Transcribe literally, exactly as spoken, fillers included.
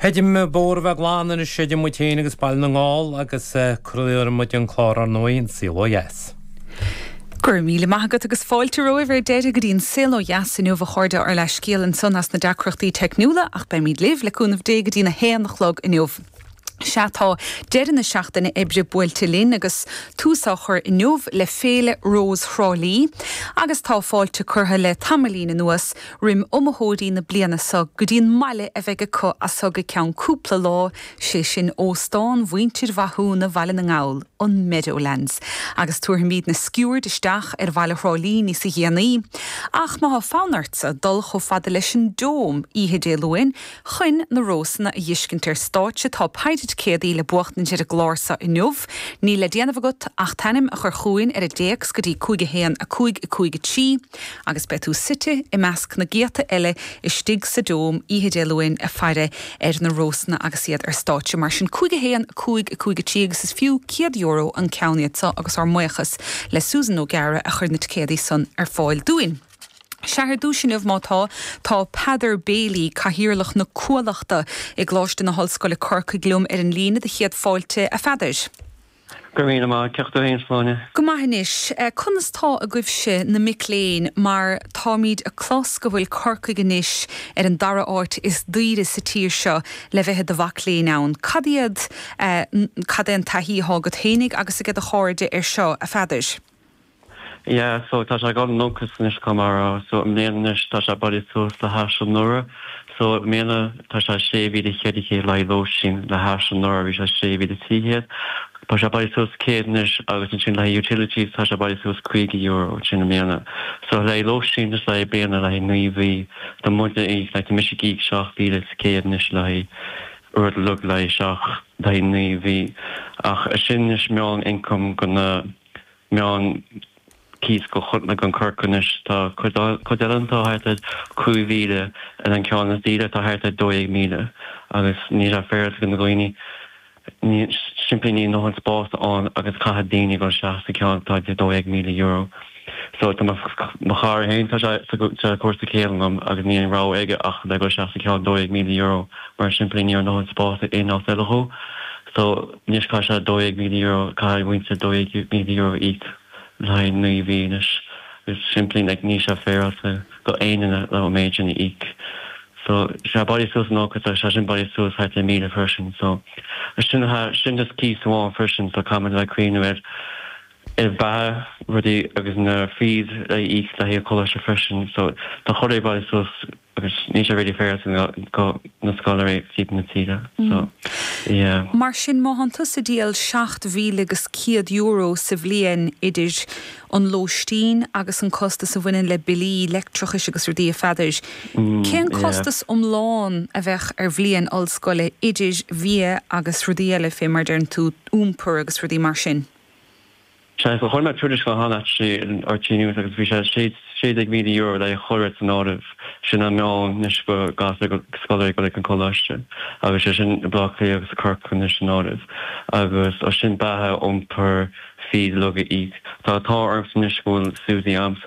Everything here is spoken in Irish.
Chreidim bóthar a bheith glan anois idir muid féin agus Baile na nGall agus craolfaidh muid an clár ar ndóigh an Saol Ó Dheas. Gur míle maith agat agus fáilte romhaibh ar deireadh go dtí an Saol Ó Dheas inniu a chairde ár leithscéal ansan as na deacrachtaí teicniúla ach beimid libh le cúnamh Dé go dtí a haon a chlog inniu. Sea tá deireadh na seachtaine oibre buailte linn agus tús á chur inniu le Féile Rós Thrá Lí agus tá fáilte curtha le tamaillín anuas roimh iomaitheoirí na bliana seo go dtí an mbaile a bheidh acu as so go ceann cúpla lá sé sin óstán mhuintir Mhathúna Bhaile na nGall an Meadowlands. Agus tabharfaimid na sciuird isteach ar bhaile Thrá Lí níos déanaí. Ach má tá fonn ortsa dul chomh fada leis an Dome oíche Dé Luain chun na rósanna a fheiscint ar stáitse tá péire ticéadaí le buachtaint ar an gclár seo inniu, Níl le déanamh agat ach t'ainm a chur chugainn ar an dtéacs go dtí cúig a haon a cúig a cúig a trí, agus beidh tú suite i measc na gcéadta eile istigh sa Dome oíche Dé Luain ag faire ar na rósanna agus iad ar stáitse mar sin cúig a haon a cúig a cúig a trí agus is fiú céad euro an ceann iad seo agus ár mbuíochas le Susan O'Gara a chuir na ticéadaí san ar fáil dúinn. Sea ar dtús inniu má tá tá Peadar Bailey cathaoirleach na Cuallachta i gColáiste na hOllscoile Corcaigh liom ar an líne do chéad fáilte a Pheadair. Gur mí má ceachú haon sláine. Go maith anois, conas tá agaibhse na mic léinn mar táimid ag clos go bhfuil Corcaigh anois ar an dara háit is daoire sa tír seo le bheith i do mhac léinn ann. Cad iad cad é an taithí atá agat féinig agus ag do chairde ar seo a Pheadair. Yeah, so tá sé gan nóchas anois mar so i mbliana anois tá sé bailithe suas le hais anuraidh so i mbliana tá sé sé mhíle ceithre chéad le lóistín le hais anuraidh bhí sé sé mhíle trí chéad. Tá sé bailithe suas céad anois agus ansin le utilities tá sé bailithe suas caoga euro sin i mbliana. So le lóistín is le bliana le naoi mhí Tá muide le tá mise ag íoc seacht mhíle céad anois le rud lug le seach le naoi mhí ach sin is meán income go na meán cíos go chutna gan Corcaigh tá cuid eile tá thart cúig mhíle ar an ceann is daoire tá thart dó dhéag míle agus ní sé féidir go na dhaoine simply níl an spás ann agus caithfidh daoine go se sa ceann tá dó dhéag míle euro. So tá mo chara féin tá sé cúrsa céim agam agus ní an ra aige ach le go se sa ceann dó dhéag míle euro mar simply ní an spás aon áit eile dhó. So níos cá sé dó dhéag míle euro caithfidh muintir dó dhéag míle euro íoc le naoi mhí anois is simply like ní sé féidir go aon le méid sin íoc. So sé bailithe suas nó sé sin bailithe suas thart le míle freisin so sin sin just cíos amháin freisin so caithfidh le cuimhneamh ar ar bheatha rudaí agus na fees le íoc le haghaidh coláiste freisin so tá chuid bailithe suas agus ní sé really fair go na scoláirí timpeall na tíre so yeah. Mar sin má tá tusa ag díol seacht mhíle agus céad euro sa bhliain idir an lóistín agus an costas a bhaineann le billí leictreachais agus rudaí a Pheadair. Cén costas iomlán a bheadh ar bhliain ollscoile idir bhia agus rudaí eile fé mar deireann tú iompar agus rudaí mar sin? Sé so chuir mé tuairisc cheana actually ar RTÉ News agus bhí sé sé déag míle euro le chur san áireamh sin an meán anois go gas go scoláirí go an coláiste agus sé sin Baile Átha Cliath agus Corcaigh anois san áireamh agus ó sin beatha iompar fees le íoc Tá tá orm anois go bhfuil Suzy am